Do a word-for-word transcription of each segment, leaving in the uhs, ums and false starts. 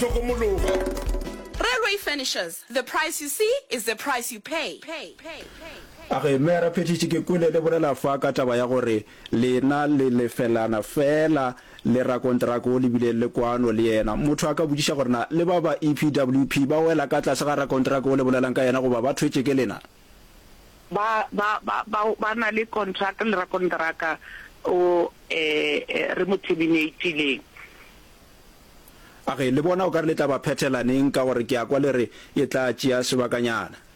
hlokomologa. Railway Furnishers, the price you see is the price you pay. pay, pay, pay. A ge, Meyara Phethiši, ke kwele le bolela fa ka taba ya gore lena le lefelana feela le rakonteraka o le bileng le kwano le yena. Motho a ka botšiša gore na le ba ba E P W P ba wela ka tlase ga rakonteraka o le bolelang ka yena goba ba thwetše ke lena? Ba, ba, ba, ba, ba na le contract le rakonteraka o eh, eh, re mo terminatileng. A ge, le bona o ka re le tla ba phethela neng ka gore ke a kwa le re e tla tšea sebakanyana?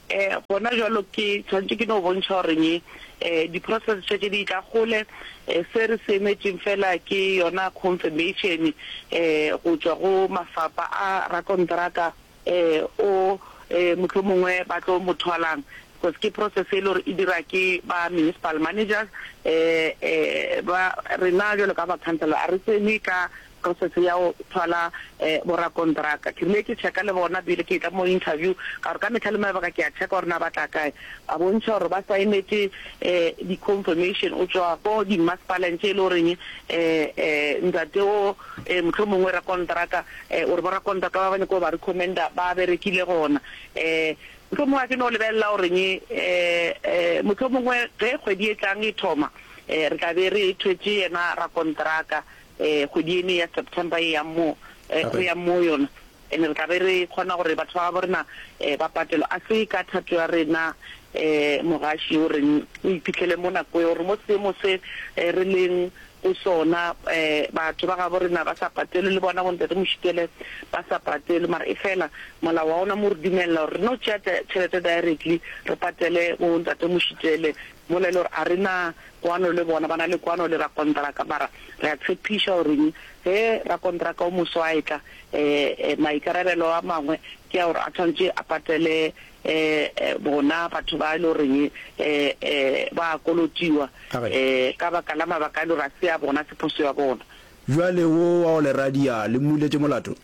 Eh, gona jwalo ke tshwanetse ke no bontšha goreng eh di-process tše di tla gole. eh, se re se emetšeng fela ke yona confirmation eh go tšwa go mafapa a rakonteraka eh o eh mohlomongwe ba tlo mo thwalang, because ke process e le gore e dira ke ba municipal managers. eh eh ba rena jwalo ka ba councillor a re tsene ka process ya go thwala eh borakontraka. Ke rile ke checka le bona pele ke tla mo interview, ka gore ka metlha le mabaka ke a checka gore na ba tla kae. Ba bontšha gore ba saenetše eh di-confirmation o tswa ko di-masepaleng tše e le goreng eh eh ntate o eh mohlomongwe rakontraka eh ore borakontraka ba ba nyako ba recommenda ba berekile gona. eh mohlomongwe a ke no lebelela goreng eh eh mohlomongwe ge kgwedi e tlang e thoma eh re tla be re thwetše yena rakontraka. eh kgwedi ene ya September e yang mo eh re yang mo yona, ene re tla be re kgona gore batho ba bo rena eh ba patelwa. A se ka thato ya rena, eh mogaši, o reng o iphitlhele mo nako e gore mo seemo se re leng go sona, eh batho ba gabo rena ba sa patelwe, le bona bontate Mošitele ba sa patelwe. Mara e fela molao wa ona mo re dumella gore re no tšea tšhelete directly re patele bo ntate Mošitele, mola e le gore a re na kwano le bona, ba na le kwano le rakontraka. Mara re a tshepiša goreng ge rakontraka o moso a etla, um maikarabelo a mangwe ke a gore a tshwanetse a patele um bona batho ba e le goreng um ba kolotiwa um ka baka la mabaka a e le gore a se a bona, se phoso ya bona. Bjale wo wa go le radia le mmuletše molato?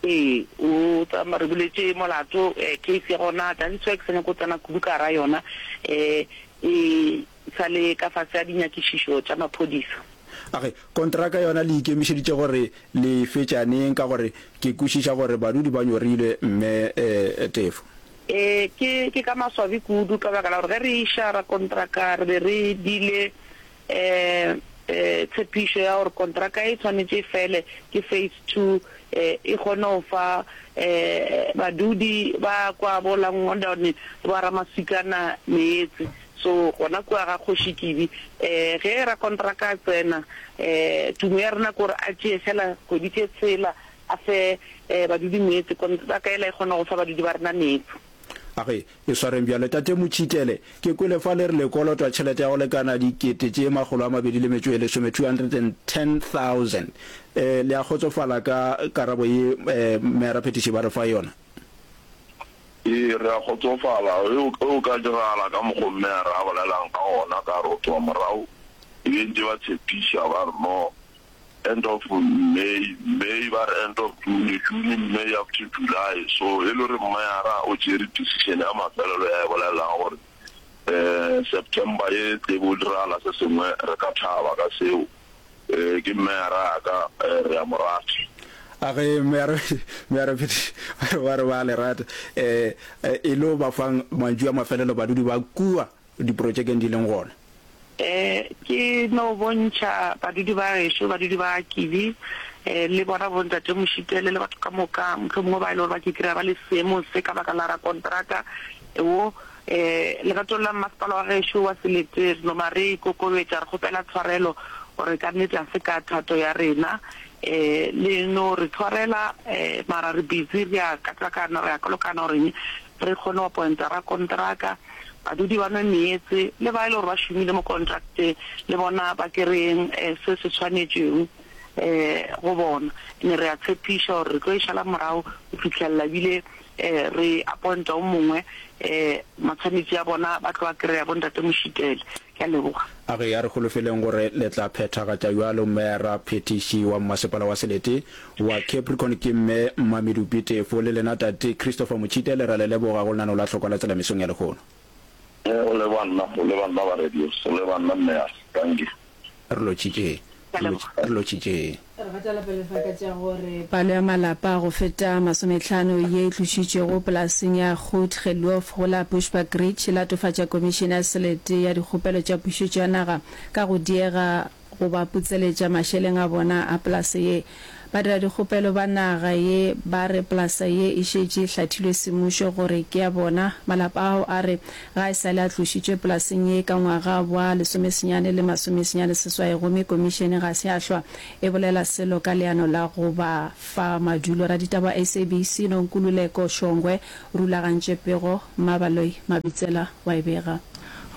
Ee, o tsamaya re buletše molato. Case ya gona, that is why ke sa nyako tsena kudu ka gara yona, um e sa le ka fase ya dinyakišišo tša maphodisa. Age, kontraka yona le ikemišeditše gore le e fetša neng, ka gore ke kwešiša gore badudi ba nyorilwe, Mme Tefo? Ee, ke ke ka maswabi kudu ka baka la gore ge re iša rakontraka re be re dile um tshepišo ya gore kontraka e tshwanetše e fele ke phase two, e kgone go fa um badudi ba kwa bo Langondone le ba Ramasikana meetse. So gona kua ga Kgoši Kibi, um ge rakontraka a tsena, um tumo ya rena ke gore a tšee fela kgwedi tše tshela a fe um badudi meetse, kontraka ela e kgona go fa badudi ba rena meetse. Age, e swareng bjalo. Tate Motšhitele, ke kwele fa le re le kolotwa tšhelete ya go lekana dikete tše makgolo a mabedi le metšo e lesome, two hundred and ten thousand. Eh, le a kgotsofala ka karabo ye eh, Meyara Phethiši ba re fa yona? Ee, re a kgotsofala. Ge o ka diragala ka mokgo meyara a bolelang ka gona, ka re o tloga morago e be ntše ba tshepiša ba re no end of May, May ba re end of June, June, May up to July. So e le gore meyara o tšere decision ya mafelelo ya e bolelang gore um September ye tlebe o diragala se sengwe, re ka thaba ka seo. um ke meyara ya ka, re a mo rata. Age, meyara meyara Phethiši ba re ba le rata. um e lo ba fang mantšu a mafelelo badudi ba kua diprotšekeng di leng gona? um ke no bontšha badudi ba gešo, badudi ba Kibi, um le bona bontate Mošitele le batho ka moka mohlomongwe ba e le gore ba ke kry-a ba le seemong se ka baka la rakontraka wo. um legatong la mmasepala wa gešo wa selete, re no ba re ikokobetša, re kgopela tshwarelo gore ka nnete a se ka thato ya rena. um le no re tshwarela, um mara re busy re a katakana, re a kolokana gore re kgone go appointa rakontraka, badudi ba nwe meetse, le ba e le gore ba šomile mo contracteng le bona ba kereng se se tshwanetšeng um go bona. Ne re a tshepiša gore re tlo e šala morago go fitlhelela ebile um re appointa o mongwe, um matshwanetši a bona ba tlo a kry-a, bontate Mošitele. Ke a leboga. Age, a re holofeleng gore le tla phethagatša bjalo. Meyara Phethiši wa Mmasepala wa Selete wa Capricorn ke Mme Mmamedupi Tefo, le lena Tate Christopher Motšhitele, re a le leboga go lenaneo la Hlokwa la Tsela mesong ya lehono. Go leba nna, go leba nna ba radio, go leba nna Meyara. Dankie. Re lotšhitše. Ke a leboga. Re lotšhitše. Re gatela pele fa ka tša gore palo ya malapa a go feta masomehlano ye e tlošitšwego polaseng ya Goed Geloof go la Bushbuckridge e latofatša Komišene ya Selete ya Dikgopelo tša Pušetšo ya Naga ka go diega go ba putseletša mašeleng a bona a polase ye. Badiradikgopelo ba naga ye ba re polasa ye e šetše e hlathilwe semmušo gore ke ya bona. Malapa ao a re ga e sa le a tlošitšwe polaseng ye ka ngwaga wa lesomesenyane le masomesenyane seswai gomme komišene ga se ya hlwa e bolela selo ka leano la go ba fa madulo. Raditaba wa S A B C Nonkululeko Shongwe o rulagantše pego, Mmabaloi Mabitsela wa e bega.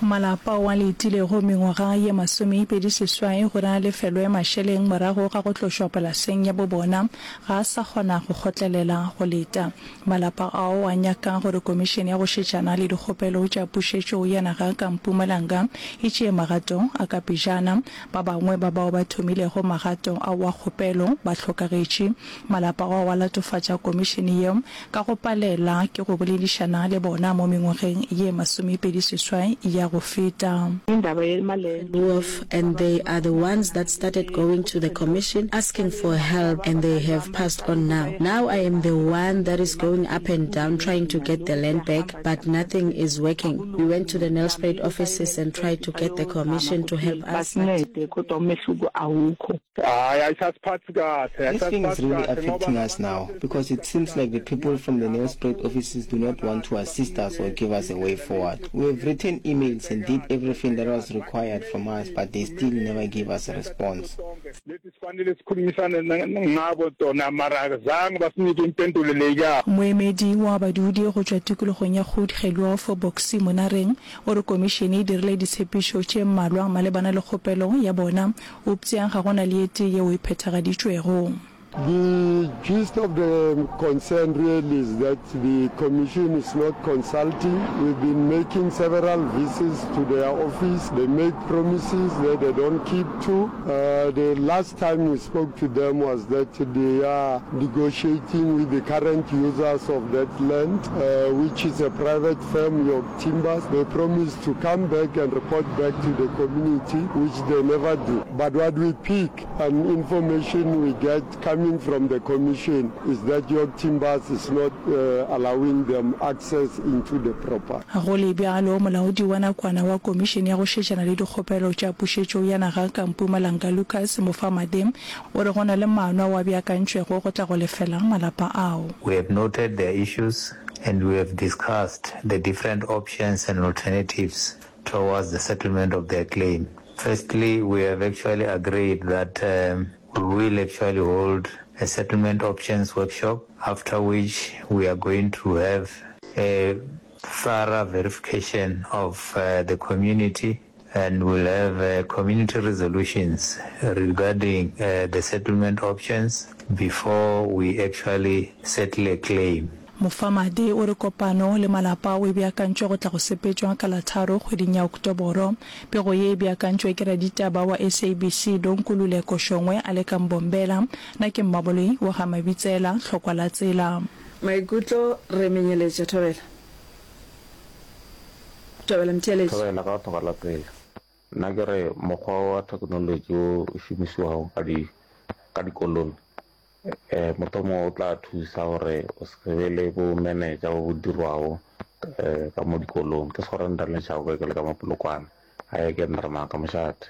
Malapa ao a letilego mengwaga ye masomepedi seswai gore a lefelwe mašeleng morago ga go tlošwa polaseng ya bo bona ga a sa kgona go kgotlelela go leta. Malapa ao a nyaka gore Komišene ya go Šetšana le Dikgopelo tša Pušetšo ya Naga ka Mpumalanga e tšee magato a ka pejana. Ba bangwe ba bao ba thomilego magato ao a kgopelo ba hlokagetše. Malapa ao a latofatša komišene yeo ka go palela ke go boledišana le bona mo mengwageng ye masomepedi seswai ya go feta. Wolf and they are the ones that started going to the commission asking for help and they have passed on now. Now I am the one that is going up and down trying to get the land back but nothing is working. We went to the Nelspruit offices and tried to get the commission to help us but This thing is really affecting us now because it seems like the people from the Nelspruit offices do not want to assist us or give us a way forward. We have written emails and did everything that was required from us but they still never gave us a response. Moemedi wa badudi go tšwa tikologong ya Goed Geloof, Boxie Monareng, o re komišene e dirile ditshepišo tše mmalwa malebana le kgopelo ya bona, eupša ga go na le e tee yeo e phethagaditšwego. The gist of the concern really is that the commission is not consulting. We've been making several visits to their office. They make promises that they don't keep to. Uh, the last time we spoke to them was that they are negotiating with the current users of that land, uh, which is a private firm, York Timbers. They promised to come back and report back to the community, which they never do. But what we pick and information we get coming from the commission is that York Timbers is not uh, allowing them access into the property. Go le bjalo, molaodi wa nakwana wa Komišene ya go Šetšana le Dikgopelo tša Pušetšo ya Naga ka Mpumalanga Lucas Mofamade o re go na le maano ao a beakantšwego go tla go lefela malapa ao. We have noted their issues and we have discussed the different options and alternatives towards the settlement of their claim. Firstly, we have actually agreed that um, we will actually hold a settlement options workshop, after which we are going to have a thorough verification of uh, the community and we'll have uh, community resolutions regarding uh, the settlement options before we actually settle a claim. Mofamadi o re kopano le malapa ao e beakantšwe go tla go sepetšwa ka la tharo kgweding ya Oktoboro. Pego ye e beakantšwe ke raditaba wa S A B C Nonkululeko Shongwe a le ka Mbombela. Na ke Mmaboloi wa ga Mabitsela, Tlhokwa la Tsela. Maikutlo re menyeletše. Thobela. Thobela Mtheeletši. Thobela ka Tlhokwa la Tsela. Nna ke re mokgwa wa thekenolotši wo o šomišiwago ka di ka dikolong um mohlomongwe o tla thusa gore o se be le bo manager bo bo dirwago um ka mo dikolong. Ke sekgora ntaletšago ke le ka mo Polokwane. Gae ke nna ka mošate.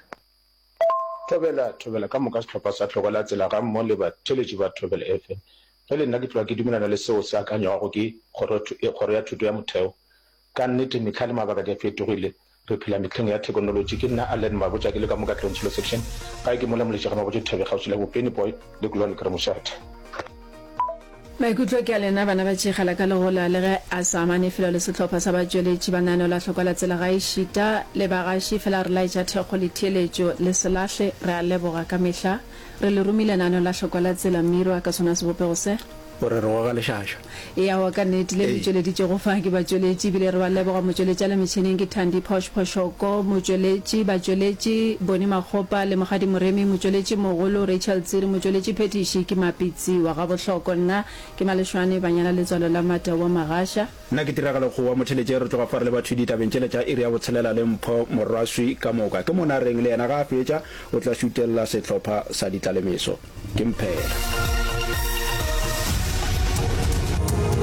Thobela, thobela ka moka sehlopha sa Tlhokwa la Tsela ga mmogo le batheeletši ba Thobela F M. Ge le nna ke tloga ke dumelana le seo se akanywago ke kgoro, kgoro ya thuto ya motheo. Ka nnete mehla le mabaka di a fetogile, re phela mehleng ya thekonolotši. Ke nna Allen Mabotja ke le ka mo Katlehong Tshilo Section. Gae ke mola Moletši ga Mabotja Dithabe kgauswi le Bopeni Boy le Kulwane ke re mošate. Maikutlo ke a lena bana ba tšegela ka legola le ge a sa amane felo le sehlopha sa batšweletši ba lenaneo la Hlokwa la Tsela gaešita le bagaši fela re laetša thekgo le theeletšo le se lahle re a leboga ka mehla re le romile lenaneo la Hlokwa la Tsela Mirwa ka sona sebopego se. O re re goga lešaša. Ee, aowa ka nnete, le le Ee. tšweleditšego fa ke batšweletši, ebile re ba leboga. Motšweletši a le metšhineng ke Thandi Phosh Phoshoko, motšweletši, batšweletši, Bonnie Makgopa le Mokgadi Moremi, motšweletši mogolo, Rachel Tsiri, motšweletši phethiši ke Mapitsi wa Gabohloko. Nna ke Maleshwane Banyana Letswalo la Matau wa Magasha. Nna ke Tiragalo Kgowa Motheletše, re tloga fa re leba thwi ditabeng tšela tša iri ya botshelela le Mpho Morwaswi ka moka. Ke Monareng le yena ga a fetša o tla šutella sehlopha sa Ditlalemeso. Ke Mphela.